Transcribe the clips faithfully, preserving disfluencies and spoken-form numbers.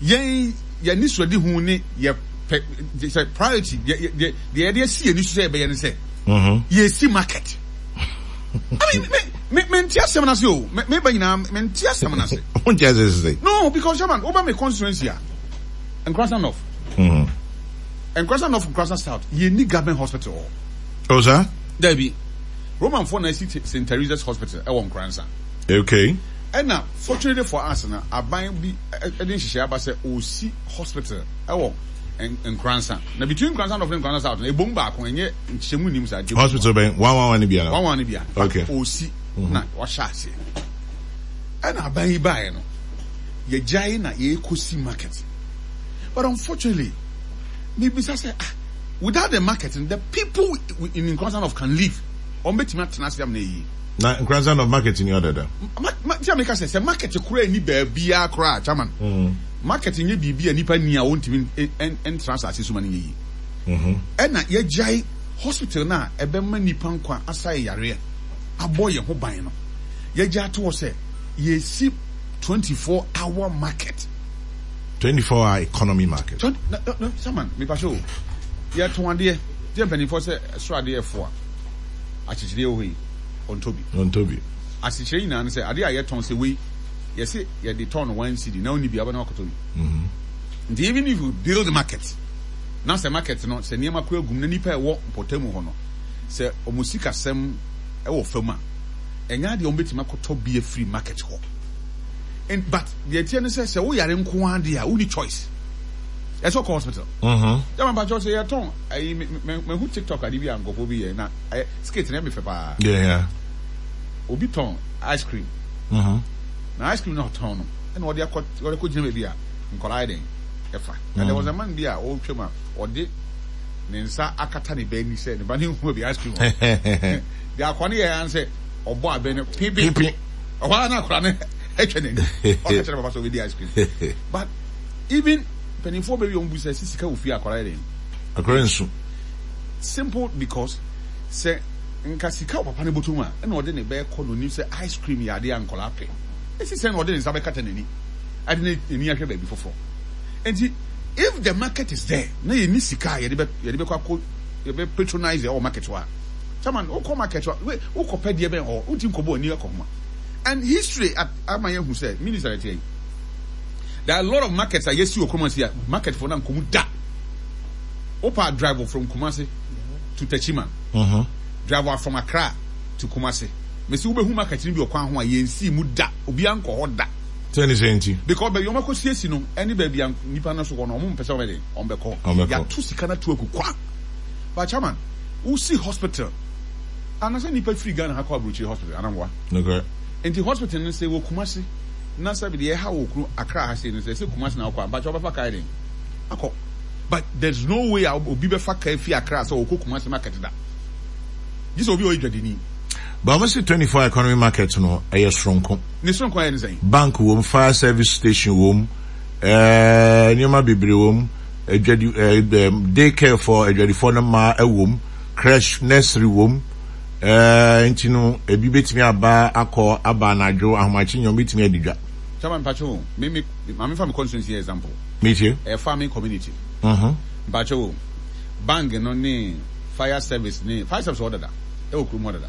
Yɛn yɛn suade hu ne yɛ pɛ sɛ priority deɛ deɛ deɛ yɛde asi yɛn ni so sɛ yɛbɛyɛ ne sɛ Mhm. yɛsi market. I mean, me me me nti asɛm na se o, me me ba nyinaa, me nti asɛm na se. Wonte ase sɛ? No, because, chairman, woba me constituency a, Nkoranza North, Mhm. Nkoranza North, Nkoranza South, yɛnni government hospital hɔ. Oh, saa? Dabi, Romanfoɔ na asi Saint Teresa's Hospital ɛwɔ Nkoranza. Okay. Ɛna fortunately for us na aban bi ɛde nhyehyɛ aba sɛ osi hospital ɛwɔ Nkoranza, na between Nkoranza North ne Nkoranza South no, ebom baako, ɛnyɛ nkyɛmu nim saa. Hospital bɛn? One one one ni bia? One one ni bia. Okay. Osi na wahyɛ aseɛ, ɛna aban yi baeɛ no, yɛgyae na yɛkɔsi market. But unfortunately, mebisa sɛ, ah, without the market, the people in Nkoranza North can live? Wɔn bɛtumi atena ase am na eyi? Na Nkoranza North, market ni ɔdada? Ma ma tí a mi ka sɛ sɛ market kura ni baabiara koraa, chairman, Mm. market nye biribi a nipa ni a wɔntumi ntena asase so ma ne nye yie. Mhm. Ɛna yɛgyae hospital na ɛbɛma nipa nkwa, asa yɛ yareɛ, abɔ yɛn ho ban no, yɛgya ato hɔ sɛ yɛsi twenty four hour market. twenty-four hour economy market. Twenty na na na chairman, mipa so yɛtɔn adeɛ deɛ, mpanimfoɔ sɛ ɛsoro adeɛ ɛfo a, akyekyereɛ wɔ hɔ yi, ɔntɔ bi. Ɔntɔ bi. Asekyerɛ nyinaa no sɛ adeɛ a yɛtɔn sɛ wei, yɛsɛ yɛde tɔn no one cedi na ɔni bi aba na wakɔtɔ bi. Mhm. Nti even if you build market na sɛ market no sɛ nneɛma kora gum na nipa ɛwɔ mpɔtamu hɔ no sɛ ɔmo sikasɛm ɛwɔ fam a, ɛnyɛ adeɛ ɔmo bɛtumi akɔtɔ bi afiri market hɔ. And but deɛ ɛteɛ no sɛ sɛ woyare nko ara deɛ a, wonni choice, ɛsɛ ɔkɔ hospital. Mhm. Yàrá mpakyɛw, sɛ yɛtɔn ayi, mɛ mɛ mɛhu TikTok ade bi a nkɔfoɔ bi yɛ na ɛyɛ skit na ɛmi fɛ paa. Yeah, yeah. Obi tɔn ice cream Mhm. na ice cream na ɔtɔn no, ɛna ɔde akɔ ɔde akɔ gyina baabi a nkɔlaa yɛ den ɛfa, and there was a man bi a ɔretwa mu a ɔde ne nsa akata ne ba ani sɛ ne ba ne nhu baabi ice cream wɔ. Deɛ akɔ ne yɛ yan sɛ ɔbɔ abɛn no pipi. Pipi. Ɔhɔ ara na akɔla no atwa n'ani, ɔka kyerɛ papa sɛ ɔbɛdi ice cream. But even mpanimfoɔ baabi a wɔn bu sɛ sisi ka wɔ fie, akɔla yɛ den? Akɔla nsu. Simple, because sɛ nka sika wɔ papa ne bɔtɔ mu a, ɛna ɔde ne bɛɛ kɔ n'onim sɛ ice cream yɛ adeɛ a nkɔla pɛ, esi sɛ na ɔde ne nsa bɛkata n'ani, ɛde ne n'ani ahwɛ baabi foforɔ. Nti if the market is there na yɛ ni sika a yɛde bɛ yɛde bɛkɔ akɔ yɛbɛ patronize ɛwɔ market hɔ a, chairman, wokɔ market hɔ, we wokɔ pɛ deɛ bɛn hɔ, wonti nkɔbɔ ani akɔ homa. And history at ama yɛn hu sɛ minister ɛte yi, there are a lot of markets a yɛsi wɔ kurom ase a market for na nkɔmu da. Wopa drive from Kumasi to Techiman, Mhm. drive from Accra to Kumasi, mesi wobɛhu market no bi wɔ kwan ho a yɛnsi mu da, obiara nkɔ hɔ da. Sɛ ne sɛ nti? Because baabi wɔn akɔ siesie no ɛne baabi a nipa no so kɔ no, wɔn mpɛ sɛ wɔn bɛ de wɔn bɛkɔ. Wɔn bɛkɔ. Yɛato sika no ato agu kwa. But chairman, wosi hospital anasɛ nipa firi Ghana ha kɔ aburokyire hospital anamwa? Okay. Nti hospital no sɛ wɔ Kumasi na sɛ deɛ ɛha wɔ kuro Accra ha sei no, sɛ sɛ Kumasi na ɔkɔ a, mpakyɛ wɔbɛfa kaa den akɔ, but there's no way a obi bɛfa kaa fi Accra sɛ ɔkɔ Kumasi market da, gye sɛ obi a ɔyɛ dwadini. But wɔn si twenty-four economy market no ɛyɛ soronko. Ne soronko ayɛ ne sɛn? Bank wɔm, fire service station wɔm, ɛɛ nneɛma bebree wɔm, adwadi ɛɛ ɛɛ day care for adwadifoɔ no mmaa ɛwɔm, crèche, nursery wɔm, ɛɛ nti no ebi betumi aba akɔ aba anadwo ahomakye nyɛ, wɔn betumi adi dwa. Chairman, mpakyɛ o, me me maame fa mi constituency yɛ example. Metie. Ɛyɛ farming community. Mhm. Mpakyɛ o, bank no ne fire service ne fire service wɔ dada ɛwɔ kurom hɔ dada.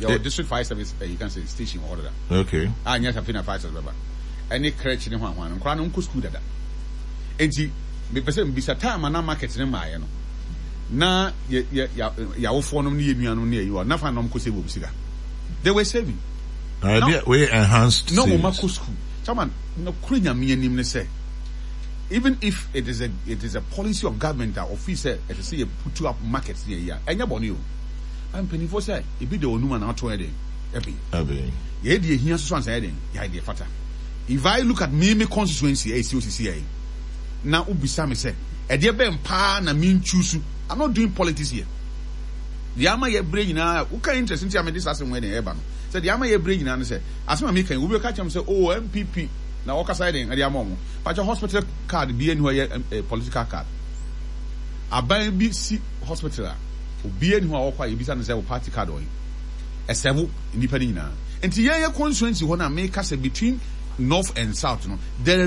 Yɛwɔ district fire service, uh, you can say station wɔ hɔ dada. Okay. A nyɛ sɛ na fire service bɛba ɛne crèche ne ho ahoa no, nkɔla no nkɔ school dada. Nti mepɛ sɛ mbisa, time a na market ne maayɛ no na yɛ yɛ yɛ yɛawofoɔ nom ne yɛ nuanom ne ayi wɔ nafa na ɔmo kɔ save wɔn sika? They were saving. Na ebi wey enhanced na wɔn savings. Akɔ school. Chairman, na kuro Nyame anim ne sɛ even if it is a it is a policy of government a office sɛ ɛsɛ sɛ yɛ put up market ne yɛ yi a, ɛnyɛ bɔne o. Mpanimfoɔ sɛ ebi de onum a na ato yɛ den ɛbi Abi. Yɛ deɛ ehia soso ansa yɛ den yɛ deɛ fata. If I look at me me constituency ɛyɛ si osisi yɛ na obisa mi sɛ ɛdeɛ bɛn paa na mi nchoose, I'm not doing politics here. Deɛ ama yɛ bere nyinaa woka interest nti a mede saa asɛm wɔ ɛden ɛba no sɛ deɛ ama yɛ bere nyinaa no sɛ asɛm a meka yi, obi bɛka kyerɛ m sɛ, oh, N P P na wɔkasa yɛ den ɛde ama ɔmo. Pakyɛ, hospital card bi ani hɔ yɛ eh, political card. Aban bi si hospital a, obi ani hɔ a wɔkɔ a yɛbisa no sɛ wo party card ɔyi ɛsɛbo nipa no nyinaa. Nti yɛn yɛ constituency hɔ no a meka sɛ between north and south no there